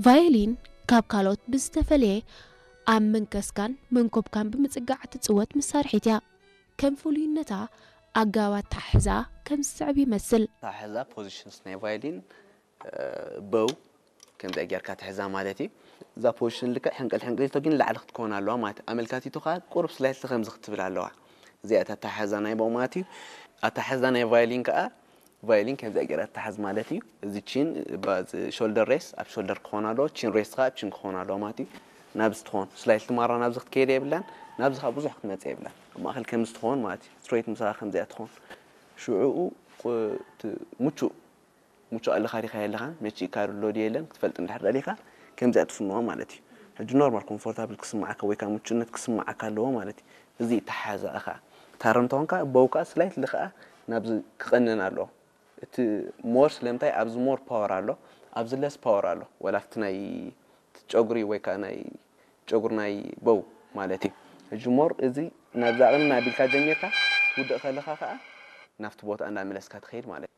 ቫዮሊን ካብ ካልኦት ብዝተፈለየ ኣብ መንከስካን መንኮብካን ብምጽጋዕ ትጽወት መሳርሒት እያ። ከም ፍሉይነታ ኣገባብ ኣተሓሕዛ ከም ዝስዕብ ይመስል። ኣተሓሕዛ positions ናይ ቫዮሊን፣ bow ከምዚኣ ጌርካ ትሕዛ ማለት እዩ። እዛ position ልክዕ ሕንቅል ሕንቅሊቶ ግን ላዕሊ ክትከውን ኣለዋ ማለት እዩ። ኣመልካቲቱ ከዓ ቁሩብ slightly ከምዚ ክትብል ኣለዋ። እዚኣ እታ ኣተሓሕዛ ናይ bow ማለት እዩ። ኣተሓሕዛ ናይ ቫዮሊን ከዓ ቫዮሊን ከምዚኣ ጌራ ትሓዝ ማለት እዩ። እዚ chin፣ shoulder rest ኣብ shoulder ክኸውን ኣለዎ፣ chin rest ከዓ ኣብ chin ክኸውን ኣለዎ ማለት እዩ። ናብዚ ትኾን slightly ማራ ናብዚ ክትከይድ የብላን፣ ናብዚ ከዓ ብዙሕ ክትመጽእ የብላን። ኣብ ማእኸል ከምዚ ትኾን ማለት እዩ። Straight ምሳኻ ከምዚኣ ትኾን። ሽዑኡ ቁ-፣ ት-፣ ምቹእ፣ ምቹእ ኣለኻ ዲኻ የለኻን፣ መቺእካ ኣሎ ድዩ የለን ክትፈልጥ እንድሕር ደሊኻ ከምዚኣ ትፍንዋ ማለት እዩ። ሕጂ normal comfortable ክስምዓካ ወይ ከዓ ምቹእነት ክስምዓካ ኣለዎ ማለት እዩ። እዚ ይተሓሓዛ እኻ። ታረም ተኾንካ bow ከዓ slightly ከዓ ናብዚ ክቐንን ኣለዎ። እቲ more ስለምንታይ ኣብዚ more power ኣሎ፣ ኣብዚ less power ኣሎ። ወላ ኣብቲ ናይ ጨጉሪ ወይ ከዓ ናይ ጨጉሪ ናይ bow ማለት እዩ። ሕጂ more እዚ ናብዛ ቅንና ኣቢልካ ጀሚርካ ትውድእ ከለኻ ከዓ ናብቲ ቦታ እንዳመለስካ ትኸይድ ማለት እዩ።